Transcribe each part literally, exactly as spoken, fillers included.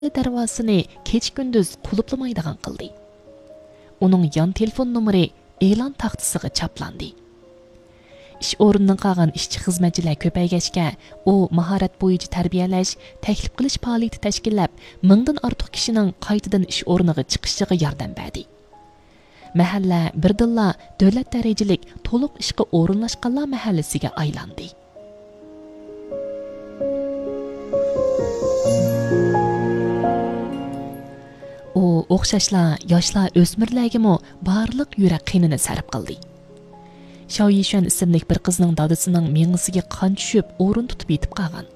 دەرۋازىسىنى كېچە-كۈندۈز قۇلۇپلىمايدىغان قىلدى. ئۇنىڭ يان تېلېفون نومۇرى ئېلان تاختىسىغا چاپلاندى. ئىش ئورنىدىن قالغان ئىشچى-خىزمەتچىلەر كۆپەيگەچكە، ئۇ ماھارەت بويىچە تەربىيەلەش، تەكلىپ قىلىش پائالىيىتى تەشكىللەپ، مىڭدىن ئارتۇق كىشىنىڭ قايتىدىن ئىش ئورنىغا چىقىشىغا ياردەم بەردى. مەھەللە بىردىنلا دۆلەت دەرىجىلىك تولۇق ئىشقا ئورۇنلاشقانلار مەھەللىسىگە ئايلاندى. ئۇ ئوخشاشلا ياشلار، ئۆسمۈرلەرگىمۇ بارلىق يۈرەك قېنىنى سەرپ قىلدى. شاۋ يىشۈەن ئىسىملىك بىر قىزنىڭ دادىسىنىڭ مېڭىسىگە قان چۈشۈپ، ئورۇن تۇتۇپ يېتىپ قالغان.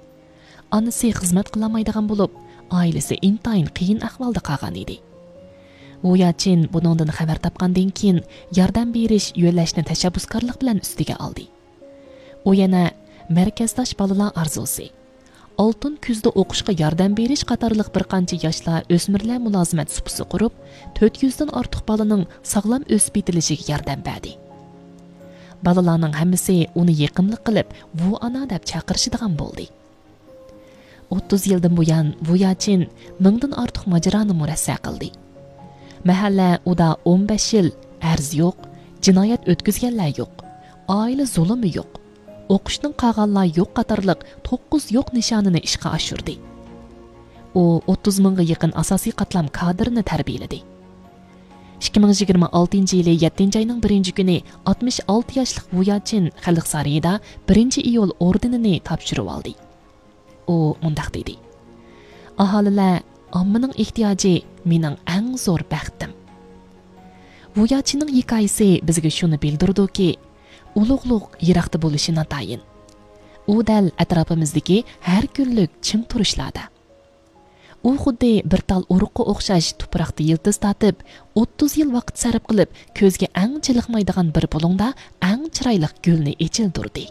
ئانىسى خىزمەت قىلالمايدىغان بولۇپ، ئائىلىسى ئىنتايىن قىيىن ئەھۋالدا قالغان ئىدى. ۋۇياچىن بۇنىڭدىن خەۋەر تاپقاندىن كېيىن، ياردەم بېرىش يۆلەشنى تەشەببۇسكارلىق بىلەن ئۈستىگە ئالدى. ئۇ يەنە مەركەزداش بالىلار ئارزۇسى، ئالتۇن كۈزدە ئوقۇشقا ياردەم بېرىش قاتارلىق بىر قانچە ياشلار، ئۆسمۈرلەر مۇلازىمەت سۇپىسى قۇرۇپ، تۆت يۈزدىن ئارتۇق بالىنىڭ ساغلام ئۆسۈپ يېتىلىشىگە ياردەم بەردى. بالىلارنىڭ ھەممىسى ئۇنى يېقىملىق قىلىپ، ۋۇ ئانا دەپ چاقىرىشىدىغان بولدى. ئوتتۇز يىلدىن بۇيان ۋۇياچىن مىڭدىن ئارتۇق ماجىرانى مۇرەسسە قىلدى. مەھەللە ئۇدا ئون بەش يىل ئەرز يوق، جىنايەت ئۆتكۈزگەنلەر يوق، ئائىلە زۇلۇمى يوق، ئوقۇشتىن قالغانلار يوق قاتارلىق توققۇز يوق نىشانىنى ئىشقا ئاشۇردى. ئۇ ئوتتۇز مىڭغا يېقىن ئاساسىي قاتلام كادىرىنى تەربىيەلىدى. ئىككى مىڭ يىگىرمە ئالتىنچى يىلى يەتتىنچى ئاينىڭ بىرىنچى كۈنى ئاتمىش ئالتە ياشلىق ۋۇياچىن خەلق سارىيىدا بىرىنچى ئىيۇل ئوردېنىنى تاپشۇرۇۋالدى. ئۇ مۇنداق دېدى: «ئاھالىلەر، ئاممىنىڭ ئېھتىياجى مېنىڭ ئەڭ زور بەختىم.» ۋۇياچىنىڭ ھېكايىسى بىزگە شۇنى بىلدۈرىدۇكى، ئۇلۇغلۇق يىراقتا بولۇشى ناتايىن. ئۇ دەل ئەتراپىمىزدىكى ھەر كۈنلۈك چىڭ تۇرۇشلاردا. ئۇ خۇددى بىر تال ئۇرۇققا ئوخشاش تۇپراقتا يىلتىز تارتىپ، ئوتتۇز يىل ۋاقىت سەرپ قىلىپ، كۆزگە ئەڭ چېلىقمايدىغان بىر بۇلۇڭدا ئەڭ چىرايلىق گۈلنى ئېچىلدۇردى.